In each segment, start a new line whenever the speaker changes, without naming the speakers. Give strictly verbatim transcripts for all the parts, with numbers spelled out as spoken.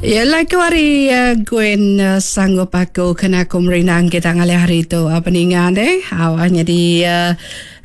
Ya lagu ari uh, Gwen uh, sanggup aku kena aku merindang kita ngalih hari tu uh, peninga deh. Awak jadi uh,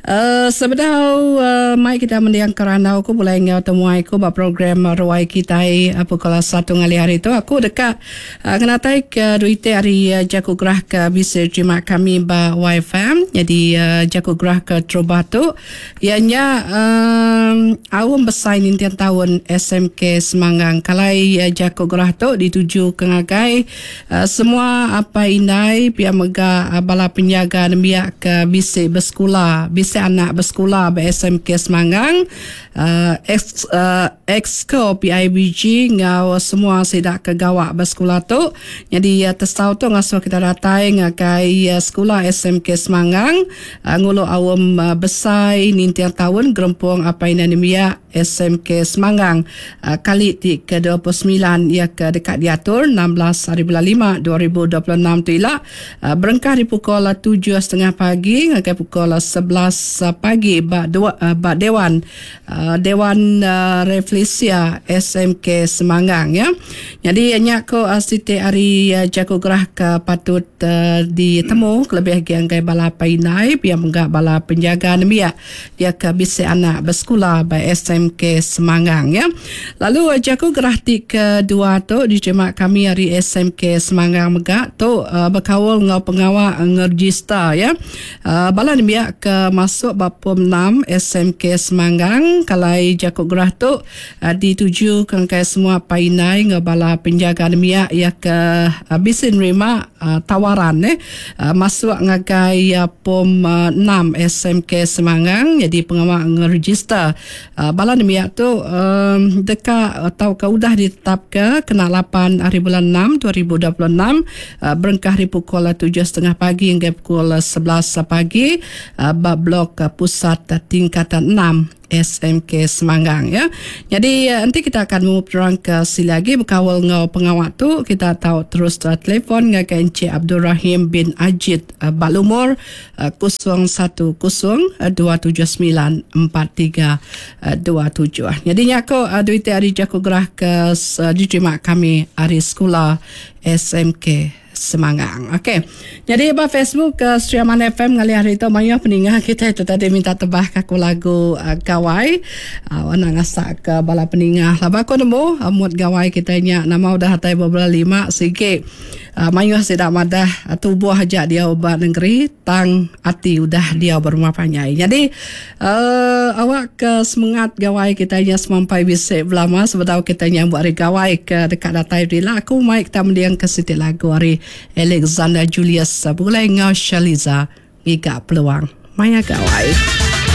Uh, sebedau uh, mai kita mendiang kerandau aku boleh ngau temuai aku ba program uh, ruai kita uh, pukul satu ngalih hari tu aku dekat uh, kenatai ke duit hari uh, jaku gerah ke bisa terima kami ba Y F M. Jadi uh, jaku gerah ke terubah tu ianya um, awam besar nintian tahun S M K Semanggang. Kalai uh, jaku gerah tu dituju ke ngagai uh, semua apa indai pia mega uh, bala penjaga nembiak ke bisa bersekolah bisa anak bersekolah B S M K Semanggang uh, ex, uh, exco P I B G ngau semua sidak ke gawak bersekolah tu. Jadi uh, tesau tu ngasuh kita datai ngagai uh, sekolah S M K Semanggang uh, ngulu awam uh, besai nintiang tahun gerempung apa ini nembiak S M K Semanggang uh, kali ti ke dua puluh sembilan ia ke dekat diatur enam belas hari bulan lima dua ribu dua puluh enam tu ila uh, berengkah di pukul tujuh setengah pagi ngagai pukul sebelas pagi ba dua ba dewan uh, dewan uh, Reflesia S M K Semanggang ya. Jadi nya ko uh, siti hari uh, jago gerah ke patut uh, ditemu kelebih lagi anggai bala painai pia menggak bala penjaga nembiak dia ke bisi anak bersekolah ba S M K Semanggang ya. Lalu uh, jago gerah ti kedua tu diterima kami hari S M K Semanggang megak tu uh, berkawal ngau pengawal ngeregister ya. Uh, bala nembiak ke masuk bapom enam S M K Semanggang kalai jakuk gerah tu uh, dituju ke kai semua painai ngau bala penjaga nembiak ya ke uh, bisa nerima uh, tawaran eh uh, masuk ngagai uh, pom uh, enam S M K Semanggang. Jadi pengawal ngeregister uh, bala nembiak tu um, dekat atau ke udah ditetapkan kena lapan hari bulan enam dua ribu dua puluh enam uh, berengkah di pukul tujuh setengah pagi hingga pukul sebelas pagi uh, bab blok pusat tingkatan enam S M K Semanggang ya. Jadi nanti kita akan memuterang ke sini lagi berkawal ngau pengawak tu kita tahu terus uh, telefon dengan Encik Abdul Rahim bin Ajid uh, Balumur uh, kosong satu kosong dua tujuh sembilan empat tiga dua tujuh. Jadi nyako uh, duit hari jago gerah ke uh, diterima kami hari sekolah S M K Semanggang. Okey. Jadi ba Facebook ke Sri Aman F M ngalih hari tu mayuh peningah kita itu tadi minta tebah kaku lagu uh, gawai. Uh, nak ngasak ke bala peningah. Laba aku nemu uh, mood gawai kita nya nama udah hatai beberapa lima sikit. Uh, mayuh sidak madah uh, tubuh aja dia ubat negeri tang ati udah dia berumah panjai. Jadi uh, awak ke semangat gawai kita nya semampai bisik belama sebab kita nya buat hari gawai ke dekat datai bila aku mai kita mendiang ke siti lagu hari Alexander Julius boleh ngau Shaliza ngiga peluang maya gawai.